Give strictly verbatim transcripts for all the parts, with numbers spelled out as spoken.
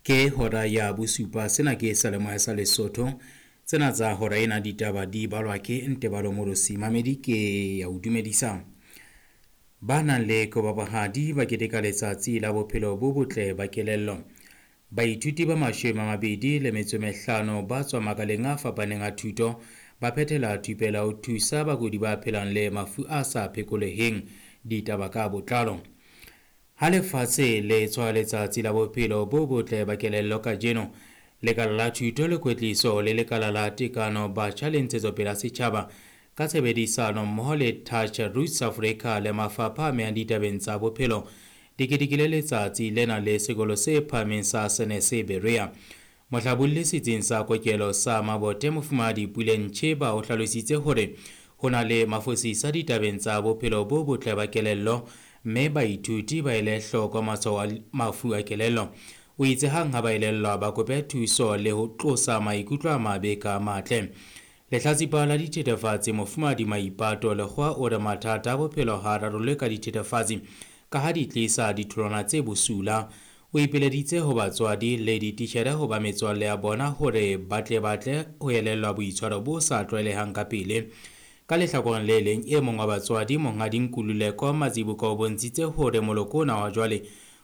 Ke hora ya bosupa, sena ke Seyalemoya sa Lesotho. Tsena tsa hora ena ditaba di balwa ke Ntebalo Morosi. Mamedi ke ya o dumedisa. Ba nang le kobabohadi ba keteka letsatsi la bophelo bo botle ba kelello. Baithuti ba mashome a mabedi le metso e mehlano ba tswa makaleng a fapaneng a thuto ba phethela thupelo ya ho thusa bakudi ba phelang le mafu a sa phekoleheng. Ditaba ka botlalo. Ha lefatshe le tshwa letsatsi la bophelo bo botle ba kelello kajeno, lekala la thuto le kwetliso le lekala la tekano batjha le ntshetsopele ya setjhaba ka tshebedisano mmoho le Touch Roots Africa le mafapha a amehang ditabeng tsa bophelo di ketekile letsatsi lena le sekolo se phahameng sa Senese Berea. Mohlabolli setsing sa kokelo sa Mabote Mofumahadi Puleng Tjheba o hlalositse hore ho na le mafosisa ditabeng tsa bophelo bo botle ba kelello mme baithuti ba ele hloko matshwao a mafu a kelello. O itse hang ha ba elellwa ba kope thuso le ho tlosa maikutlo a mabe ka matle. Lehlatsipa la dithethefatsi Mofumahadi Maipato Lekgowa o re mathata a bophelo ha a rarollwe ka dithethefatsi ka ha di tlisa ditholwana tse bosula. O ipileditse ho batswadi le dititjhere ho ba metswalle ya bona hore ba tle ba tle ho elellwa boitshwaro bo sa tlwaelehang ka pele. Ka lehlakoreng le leng, e mong wa batswadi Monghadi Nkululeko Mazibuko o bontshitse hore moloko ona wa jwale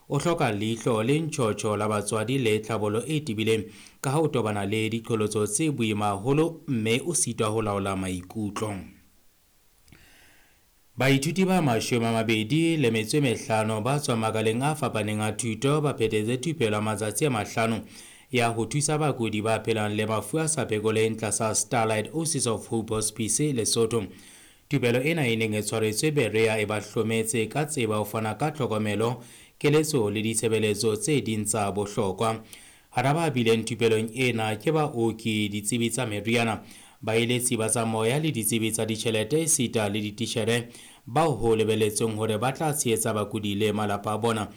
o hloka leihlo le ntjhotjho la batswadi le tlhabollo e tebileng ka ha o tobana le diqholotso tse boima haholo mme o sitwa ho laola maikutlo. Baithuti ba mashome a mabedi le metso e mehlano ba tswang makaleng a fapaneng a thuto ba phethetse thupelo ya matsatsi a mahlano ya ho thusa bakudi ba phelang le mafu a sa phekoleheng tlasa Starlight Oasis of Hope Hospice Lesotho. Thupelo ena e neng e tshwaretswe Berea e ba hlometse ka tseba ho fana ka tlhokomelo, keletso le ditshebeletso tse ding tsa bohlokwa. Hara ba bileng thupelong ena ke baoki, ditsebi tsa meriana, baeletsi ba tsa moya le ditsebi tsa ditjhelete esita le dititjhere bao ho lebelletsweng hore ba tla tshehetsa bakudi le malapa a bona.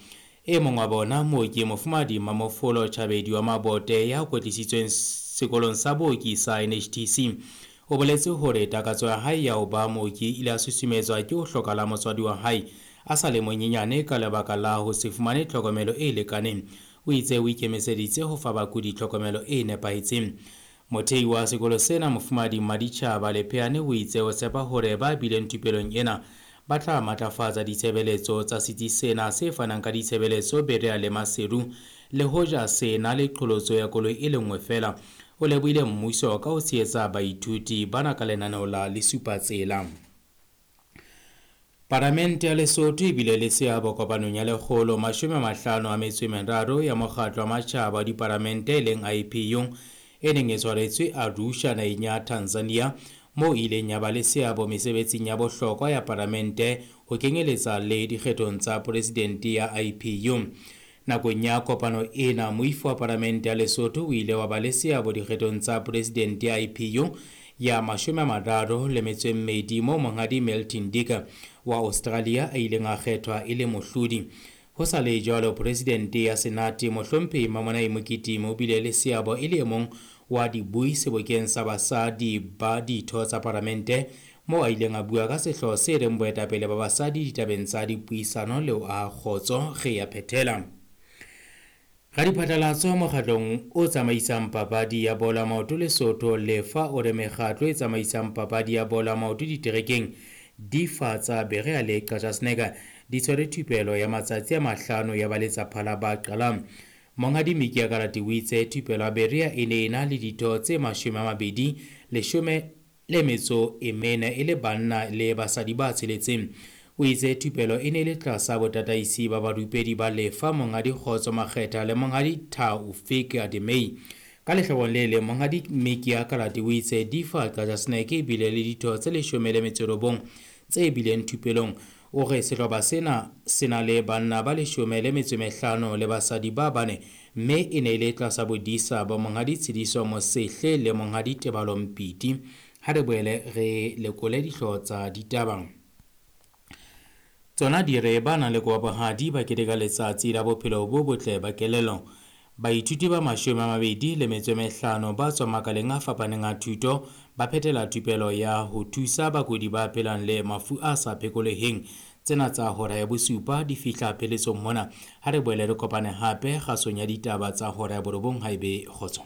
E mong wa bona, mooki Mofumahadi Mamofolo Chabedi wa Mabote ya kwetlisitsweng sekolong sa booki sa N H T C, o boletse hore takatso ya hae ya ho ba mooki e ile ya susumetswa ke ho hloka la motswadi wa hae a sa le monyenyane ka lebaka la ho se fumane tlhokomelo e lekaneng. O itse o ikemiseditse ho fa bakudi tlhokomelo e nepahetseng. Mothei wa sekolo sena Mofumahadi Maditjhaba Lepheane o itse o tshepa hore ba bileng thupelong ena ba tla matlafatsa ditshebeletso tsa setsi sena se fanang ka ditshebeletso Berea le Maseru, le hoja se na le qholotso ya koloi e le nngwe feela. O lebohile mmuso ka ho tshehetsa baithuti bana ka lenaneo la Lesupatsela. Palamente ya Lesotho e bile le seabo kopanong ya lekgolo mashome a mahlano a metso e meraro ya mokgatlo wa matjhaba wa dipalamente e leng I P U e neng e tshwaretswe Arusha naheng ya Tanzania, moo e ileng ya ba le seabo mesebetsing ya bohlokwa ya palamente ho kenyeletsa le dikgethong tsa presidente ya I P U. Nakong ya kopano ena, moifo wa palamente ya Lesotho o ile wa ba le seabo dikgethong tsa presidente ya I P U ya mashome a mararo le metso e mmedi, moo Monghadi Milton Dicker wa Australia a ileng a kgethwa e le mohlodi. Ho sa le jwalo, presidente ya Senate Mohlomphehi Mamonai Mokitimi o bile le seabo e le e mong wa dibui sebokeng sa basadi ba ditho tsa palamente, moo a ileng a bua ka sehlooho se reng boetapele ba basadi ditabeng tsa dipuisano le ho aha kgotso. Re ya phethela. Radiphatlalatso mokgatlong o tsamaisang papadi ya bolo ya maoto Lesotho Lefa o re mekgatlo e tsamaisang papadi ya bolo ya maoto diterekeng di fa tsa Berea le Qacha's Nek di tshwere thupelo ya matsatsi a mahlano ya baletsaphala ba qalang. Monghadi Miki Akarati o itse thupelo ya Berea e ne e na le ditho tse mashome a mabedi leshome le metso e mene e le banna le basadi ba tsheletseng. O itse thupelo e ne le tlasa botataisi ba barupedi ba Lefa Monghadi Kgotso Makgetha le Monghadi Taufik Ademei. Ka lehlakoreng le leng, Monghadi Miki Akarati o itse Difa Qacha's Nek e bile le ditho tse leshome le metso e robong tse bileng thupelong. O re sehlopha sena se na le banna ba leshome le metso e mehlano le basadi ba bane, mme e ne e le tlasa bodisa ba Monghadi Tshidiso Mosehle le Monghadi Tebalo Mpiti. Ha re boele re lekole dihlooho tsa ditaba. Tsona di re ba nang le kobabohadi ba keteka letsatsi la bophelo bo botle ba kelello. Baithuti ba mashome a mabedi le metso e mehlano ba tswang makaleng a fapaneng a thuto ba phethela thupelo ya ho thusa bakudi ba phelang le mafu a sa phekoleheng. Tsena tsa hora ya bosupa di fihla pheletsong mona. Ha re boele re kopane hape kgasong ya ditaba tsa hora ya borobong. Haebe kgotso.